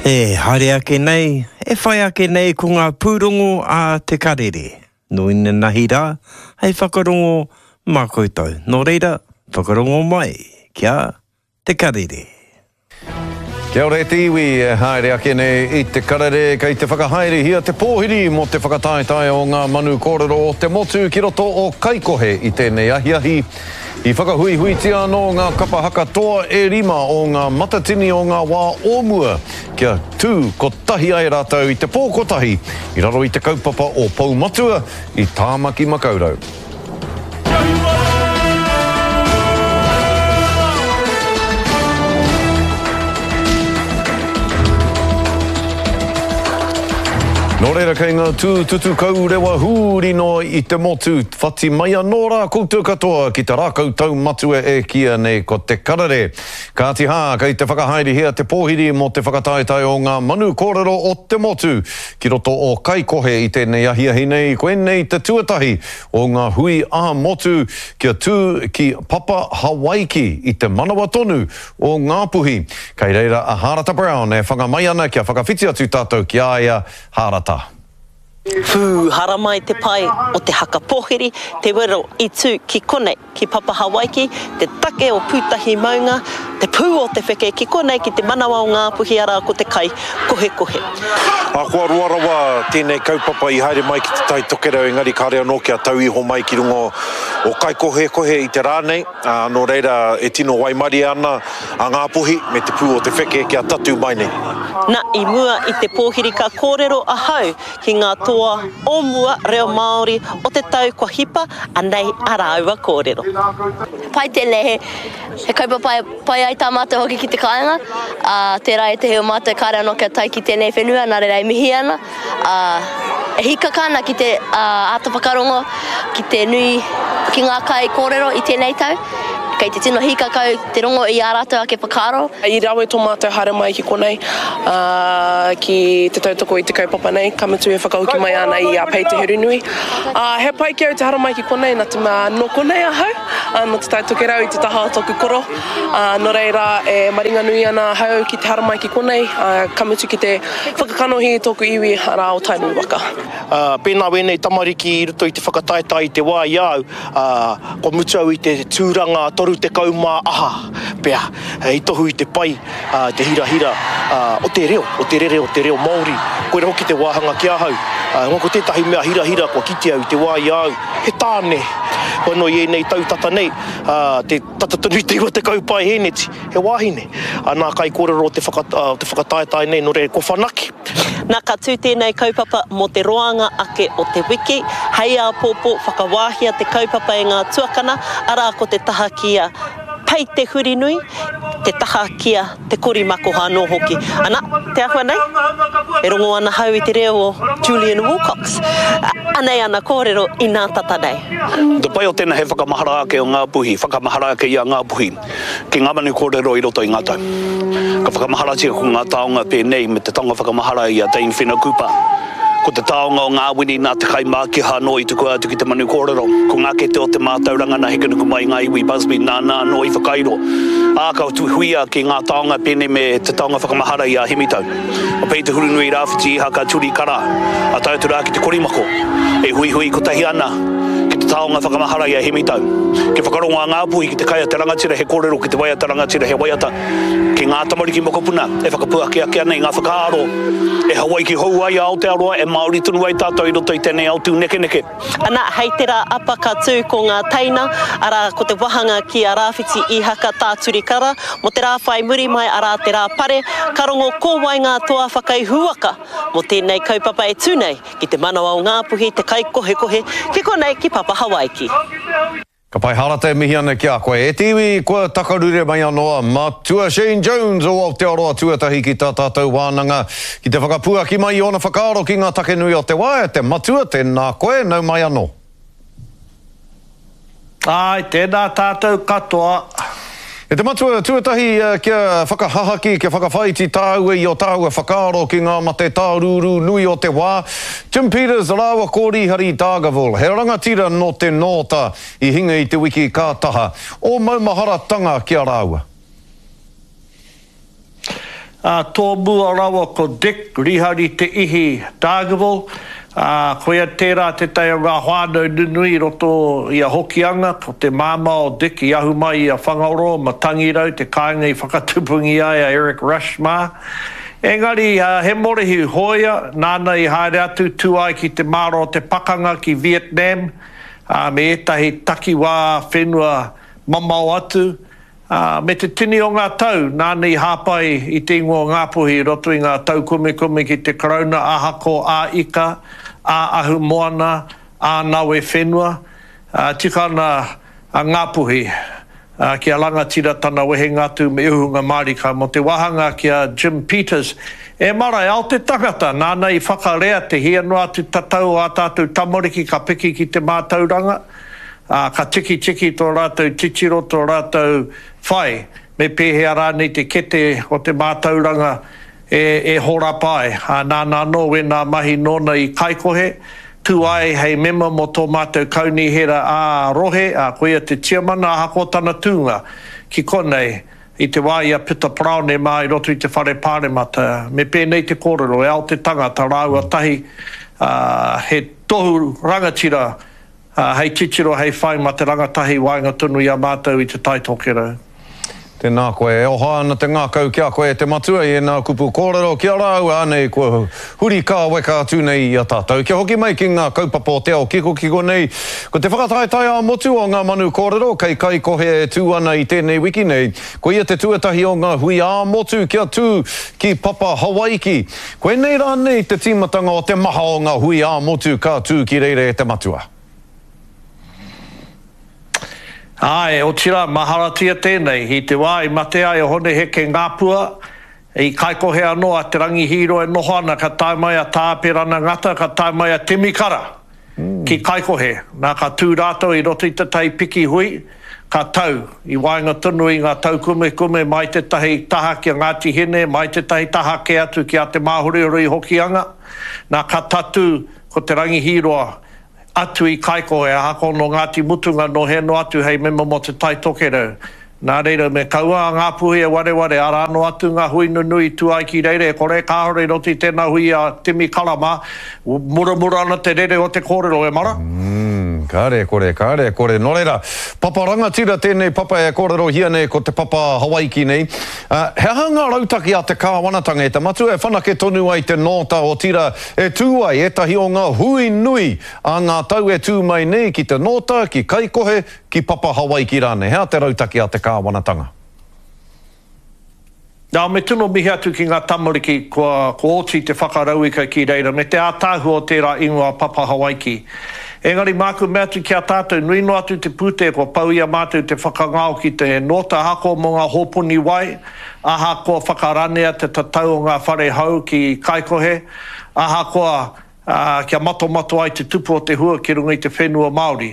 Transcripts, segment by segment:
E haere ake nei, e whai ake nei ko ngā pūrongo a Te Karere. Nō inanahi rā, hei whakarongo mā koutou. Nō reira, whakarongo mai kia Te Karere. Kia ora e te iwi e haere ake nei i Te Karere kei te whakahaerehia te pōhiri mō te whakataetae o ngā manu kōrero o te motu ki roto o Kaikohe i tēnei ahiahi. I whakahuihuitia anō ngā kapa haka toa e rima o ngā matatini o ngā wā o mua kia tū kotahi ai rātou i te pō kotahi i raro i te kaupapa o Poumatua i Tāmaki Makaurau. Nō reira kei ngā tūtutu kaurewa hūri noa i te motu, whati mai anō rā koutou katoa ki te rākau taumatua e kīia nei ko te karere. Kāti hā, kei te whakahaerehia te pōhiri mō te whakataetae o ngā manu kōrero o te motu ki roto o Kaikohe i tēnei ahiahi nei, koinei te tuatahi o ngā hui ā-motu kia tū ki Papa Hawaiki i te manawa tonu o Ngāpuhi. Kei reira a Hārata Brown e whanga mai ana kia whakawhiti atu tātou ki a ia, Hārata. Pū haramai te pae o te haka pōhiri, te wero i tū ki konei. Ki Papa Hawaiki, te take o Pūtahi maunga, te pū o te wheke, ki konei ki te manawa o Ngāpuhi arā ko te kai kohekohe. Ahakoa roa rawa tēnei kaupapa i haere mai ki Te Tai Tokerau engari kāre anō kia tau iho mai ki runga o Kaikohekohe i te rā nei, ā, nō reira e tino waimarie ana a Ngāpuhi me te pū o te wheke kia tatū mai nei. Na, i mua i te pōhiri ka kōrero ahau ki ngā toa o mua reo Māori o te tau kua hipa, anei a rāua kōrero. Pai tēnei, he, he kaupapa e pai ai tā mātou hoki ki te kāinga, ā, tērā ētehi o mātou kāre anō kia tae ki tēnei whenua, nā reira e mihi ana, ā, e hīkaka ana ki te, ā, āta whakarongo ki te nui, ki ngā kaikōrero i tēnei tau. Kei te tino hīkaka au te rongo i ā rātou ake whakaaro. I rawe tō mātou haere mai ki konei, ā, ki te tautoko i te kaupapa nei, ka mutu e whakahoki mai ana i a Pei Te Hurunui. Ā, he pai ki au te haramai ki konei, nā te mea nō konei ahau, ā, nō Te Tai Tokerau i te taha o tōku koro, ā, nō reira e maringanui ana ahau ki te haramai ki konei, ā, ka mutu ki te whakakanohi i tōku iwi, arā, o Tainui waka. Ā, pēnā wēnei tamariki i roto i te whakataetae i te wā i a au, ā, kua mutu au i te tūranga 30 mā aha pea, hei tohu i te pai, ā, te hirahira, ā, o te reo, o te rere o te reo Māori. Koira hoki te wāhanga ki ahau. Ā, ko tētahi mea hirahira kua kite au i te wā i a au, he tāne, hoi anō i ēnei tau tata nei, ā, te tata tonu i te 90 paehēneti, he wāhine. Ā, nā kaikōrero o te whaka, o te whakataetae nei, nō reira, kua whanake. Nā, ka tū tēnei kaupapa mō te roanga ake o te wiki, hei āpōpō whakawāhia te kaupapa e ngā tuakana, arā ko te taha ki a Pei Te Hurinui, te taha ki a Te Korimakoha anō hoki. Ana, te āhua nei, e rongo ana hau i te reo o Julian Wilcox. Anei ana kōrero inā tata nei. Te pai o tēnā he whakamahara ake o Ngāpuhi, whakamahara ake i a Ngāpuhi ki ngā manu kōrero i roto i ngā tau. Ka whakamaharatia ko ngā taonga pēnei me te taonga whakamahara i a Dame Whina Cooper. Ko te taonga o ngā wini nā te kaimākiha anō i tukua atu ki te manu kōrero. Ko ngā kete o te mātauranga nā Hekenukumai ngā iwi Busby nāna anō i whakairo. Ā, ka huia ki ngā taonga pēnei me te taonga whakamahara i a Hemitau. Ko Pei Te Hurunui Rāwhiti Ihaka Turi Kara, a tae atu rā ki te korimako, e huihui kotahi ana ki te taonga whakamahara i a Hemitau. Kia whakarongo a Ngāpuhi ki te kai a te rangatira he kōrero ki te waiata rangatira he waiata ki ngā tamariki mokopuna e whakapuaki ake ana i ngā whakaaro e Hawaiki hou ai a Aotearoa, e Māori tonu ai tātou i roto i tēnei ao tūnekeneke. Ana, hei te rā apa ka tū ko ngā teina, arā, ko te wahanga ki a Rāwhiti Īhaka Tā Turi Kara, mō te rā whai muri mai, arā, te rā pare, ka rongo ko wai ngā toa whakaihuwaka mō tēnei kaupapa e tū nei ki te manawa o Ngāpuhi, te kaikohekohe, ki konei ki Papa Hawaiki. Ka pai Harata e mihi ana ki a koe. E te iwi, kua takarure mai anō a Matua Shane Jones o Aotearoa Tuatahi ki tā tātou wānanga ki te whakapuaki mai i ōna whakaaro ki ngā take nui o te wā. E te Matua, tēnā koe, nau mai anō. Āe, tēnā tātou katoa. E te Matua, tuatahi kia whakahahaki, kia whakawhāiti tāua i ō tāua whakaaro ki ngā mate tārūrū nui o te wā. Jim Peters rāua ko Rīhari Dargaville, he rangatira nō te Nōta i hinga i te wiki ka taha. Ō maumaharatanga ki a rāua? Ā, tōmua rawa ko Dick Rihari Te Ihi Dargaville, ā, koia tērā tētahi o ngā whānau nunui i roto i a Hokianga, ko te māmā o Dick i ahu mai i a Whangaroa, Matangirau, te kāinga i whakatupungia ai a Eric Rush mā. Engari, he morehu hōia, nāna i haere atu, tū ai ki te māra o te pakanga ki Vietnam, ā, me ētahi takiwā whenua mamao atu, Ā, me te tini o ngā tau, nāna i hāpai i te ingoa o Ngāpuhi i roto i ngā taukumekume ki te Karauna ahako ā-ika, ā-ahumoana, ā-nawe whenua. Ā, tika ana a Ngāpuhi, ā, kia rangatira tana wehenga atu me uhunga mārika mō te wāhanga ki a Jim Peters. E mara, e ao te tangata, nāna i whakarea te hia noa atu tatau o ā tātou tamariki ka piki ki te mātauranga, ā, ka tikitiki tō rātou titiro, tō rātou whai, me pēhea rānei te kete o te mātauranga e, e horapa ai. Ā, nāna anō wēnā mahi nōna i Kaikohe, tū ai hei mema mō tō mātou kaunihera ā-rohe, ā, koia te tiamana ahakoa tana tūnga ki konei i te wā i a Pita Paraone mā i roto i te whare pāremata. Me pēnei te kōrero, e ao te tangata rāua tahi, ā, he tohu rangatira Ā, hei titiro, hei whai mā te rangatahi i waenga tonu i a mātou i Te Tai Tokerau. Tēnā koe. E oha ana te ngākau ki a koe e te matua i ēnā kupu kōrero ki a rāua anei kua huri kāweka atu nei i a tātou. Kia hoki mai ki ngā kaupapa o te ao kikokiko nei, ko te whakataetae ā-motu o ngā manu kōrero kei Kaikohe e tū ana i tēnei wiki nei. Koia te tuatahi o ngā hui ā-motu kia tū ki Papa Hawaiki. Koinei rānei te tīmatanga o te maha o ngā hui ā-motu ka tū ki reira e te matua? Āe, otirā, maharatia tēnei, i te wā i mate ai a Hone Heke Ngāpua, i Kaikohe anō a Te Rangi Hīroa e noho ana, ka tae mai a Tā Apirana Ngata, ka tae mai a Timi Kara ki Kaikohe. Nā, ka tū rātou i roto i tētahi piki hui, ka tau i waenga tonu i ngā taukumekume mai tētahi taha ki a Ngāti Hine, mai tētahi taha kē atu ki a Te Māhorihori i Hokianga. Nā, ka tatū ko Te Rangi Hīroa atu i Kaikohe, ahakoa nō Ngāti Mutunga, nō hea noa atu hei mema mō Te Tai Tokerau. Nā reira, me kaua a Ngāpuhi e wareware, arā noa atu ngā hui nunui i tū ai ki reira, e kore kāore i roto i tēnā hui a Timi Kara mā, muramura ana te rere o te kōrero, e mara. Umm, kāre e kore, kāre e kore. Nō reira, papa rangatira tēnei papa e kōrerohia nei ko te papa Hawaiki nei. He aha ngā rautaki a te kāwanatanga e te matua e whanake tonu ai te nōta otirā e tū ai ētahi o ngā hui nui a ngā tau e tū mai nei ki te nōta, ki Kaikohe, Ki Papa Hawaiki rānei, he aha te rautaki a te kāwanatanga? Nā, me tino mihi atu ki ngā tamariki kua kua oti te whakarauika ki reira, me te ātaahua o tērā ingoa Papa Hawaiki. Engari māku mea atu ki a tātou, nui noa atu te pūtea kua pau i a mātou te whakangao ki te nōta ahakoa mō ngā hōpuni wai, ahakoa whakaranea te tatau o ngā whare hou ki Kaikohe, ahakoa ā, kia matomato ai te tupu o te hua ki runga i te whenua Māori.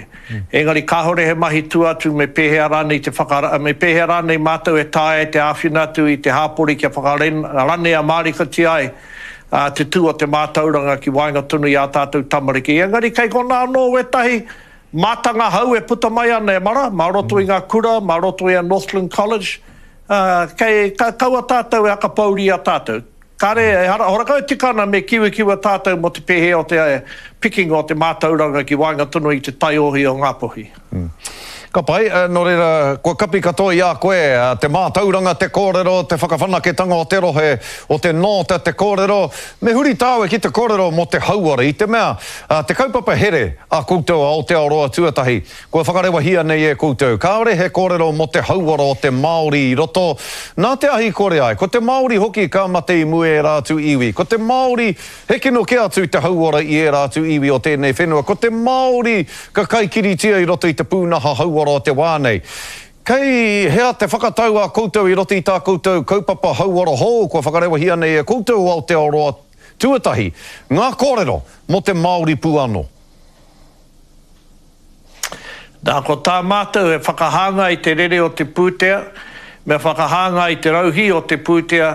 Engari kāore he mahi tua atu me pēhea rānei te whaka, me pēhea rānei mātou e taea ai te āwhina atu i te hāpori kia whakaranea mārikatia ai te tū o te mātauranga ki waenga tonu i ā tātou tamariki. Engari kei konā anō wētahi mātanga hou e puta mai ana e mara, mā roto i ngā kura, mā roto i a Northland College, ā, kei, ka, kaua tātou e akapouri i a tātou. Kare, ehara, horakau e tika ana me kiwikiwa tātou mō te pēhea o te pikinga o te mātauranga ki waenga tonu i te taiohi o Ngāpuhi. Ka pai, nō reira, kua kapi katoa i a koe te mātauranga, te kōrero, te whakawhanaketanga o te rohe, o te nōta, te kōrero. Me huri tāua ki te kōrero mō te hauora, i te mea, te kaupapa here a koutou a Aotearoa Tuatahi, Kua whakarewahia nei e koutou, kāore he kōrero mō te hauora o te Māori i roto, nā te ahi kore ai. Ko te Māori hoki ka mate i mua i ērā atu iwi. Ko te Māori he kino kē atu te hauora i ērā atu iwi o tēnei whenua. Ko te Māori ka kaikiritia i roto i te pūnaha hauora o te wā nei. Kei hea te whakatau a koutou i roto i tā koutou kaupapa hauora hou kua whakarewahia nei e koutou o Aotearoa tuatahi, ngā kōrero mō te Māori pū anō? Nā, ko tā mātou he whakahāngai i te rere o te pūtea, me whakahāngai i te rauhī o te pūtea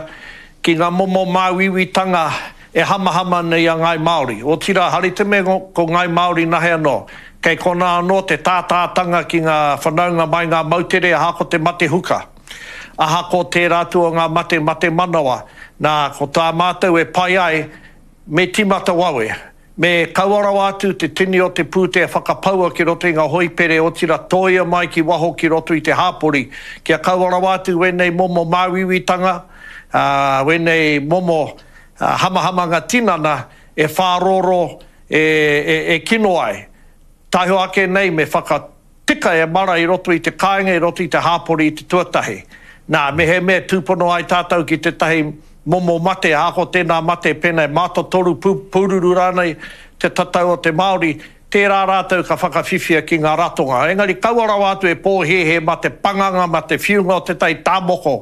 ki ngā momo māuiuitanga e hamahama nei a Ngāi Māori. Otirā, hari te mea ko Ngāi Māori nahe anō, kei konā anō te tātātanga ki ngā whanaunga mai ngā moutere ahakoa te mate huka, ahakoa tērā atu o ngā mate mate manawa. Nā, ko tā mātou e pai ai, me tīmata wawe. Me kaua rawa atu te tini o te pūtea whakapaua ki roto i ngā hoipere otira tōia mai ki waho ki roto i te hāpori, kia kaua rawa atu wēnei momo māuiuitanga, ā, wēnei momo hamahamanga tinana e whārōrō, e, e, e kino ai. Taihoa ake nei me whaka. Tika e mara i roto i te kāinga, i roto i te hāpori i te tuatahi. Nā, mehemea tūpono ai tātou ki tētahi momo mate, ahakoa tēnā mate pēnā e mātotoru, pūruru rānei te tatau o te Māori, tērā rātou ka whakawhiwhia ki ngā ratonga. Engari kaua rawa atu e pōhēhē mā te panganga, mā te whiunga o tētahi tāmoko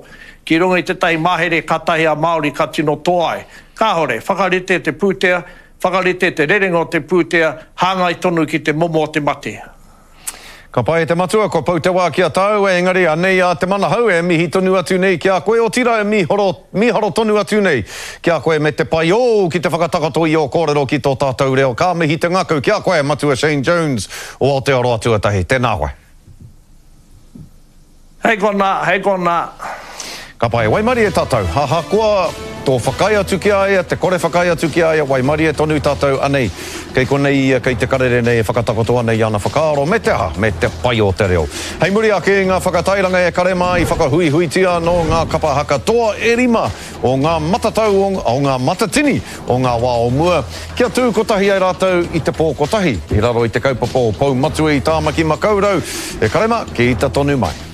ki runga i tētahi mahere kātahi a Māori ka tino toa ai. Kāore, whakarite te pūtea, Whakarite te rerenga o te pūtea hāngai tonu ki te momo o te mate. Ka pai e te matua, kua pau te wā ki a tāua, engari anei a Te Manahau e mihi tonu atu nei ki a koe, otirā e mīharo, mīharo tonu atu nei ki a koe me te pai ōu ki te whakatakoto i ō kōrero ki tō tātou reo. Ka mihi te ngakau ki a koe, Matua Shane Jones o Aotearoa Tuatahi. Tēnā koe. Hei konā, hei konā. Ka pai, waimarie tātou. Ahakoa tō whakaae atu ki a ia, te kore whakaae atu ki a ia, waimarie tonu tātou. Anei, kei konei ia, kei te karere nei e whakatakoto ana i ana whakaaro, me te aha, me te pai o te reo. Hei muri ake i ngā whakatairanga e kare mā i whakahuihuitia anō ngā kapa haka toa e rima o ngā matatau o, o ngā matatini o ngā wā o mua, kia tū kotahi ai rātou i te pō kotahi, i raro i te kaupapa o Pou Matua i Tāmaki Makaurau, e kare mā, ki ita tonu mai.